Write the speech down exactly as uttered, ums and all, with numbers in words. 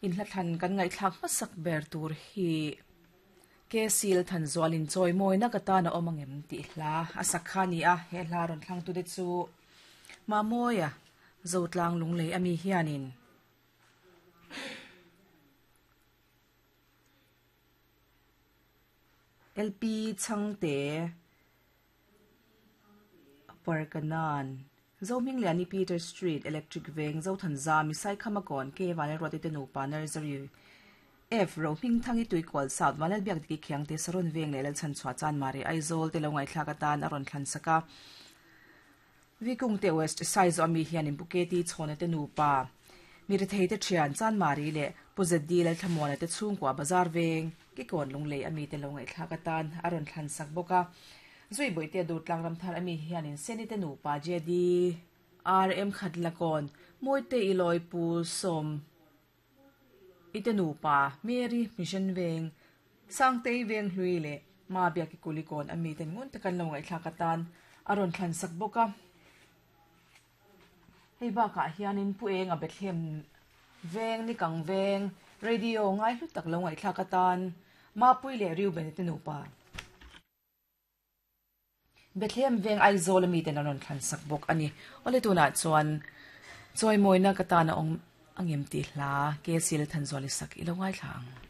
In hla thlan kan ngaihthlak hmasak ber tur hi ke sil than zualin chawi mawina ka tana awm angem tih hla a sak kha ni a he hla rawn thlang tu te chu Mamawia Zotlang Lunglei ami hianin L P Chhangte Parkanan Zohmingliani Peter Street Electric Veng Zothanzami Saikhamakon K Vanlalruati te nupa Nursery F Rohmingthangi Tuikual South Vanlalbiak Diki Khiangte Saron Veng leh Lalchhanchhuah Chanmari Aizawl te lo ngaihthlak atan a rawn thlan sak a Vikungte West Saizaw ami hianin Buketi Chhawna te nupa Mirethei te thian Chanmari leh Pu Z D Lalthlamuana te chhungkua Bazar Veng Kikawn Lunglei ami te lo ngaihthlak atan a rawn thlan sak bawk a Zui Boihte Durtlang Ramthar ami hianin Seni te nupa J D R M Khatlakawn Mawite Ilawi Pu Sawm ite nupa Mary Mission Veng Sangtei Veng Hlui leh Ma Biaki Kulikawn ami ten ngun takan lo ngaihthlak atan a rawn thlan sak bawk a hei bakah hianin Pu Enga Bethlehem Veng Nikang Veng radio ngai hlu tak lo ngaihthlak atan Mapui leh Reuben te nupa Bethlehem Veng Aizawl ami ten an rawn thlan sak bawk ani awle tunah chuan chawi mawina ka tana awm angem tih hla ke sil than zuali sak i lo ngaithla ang.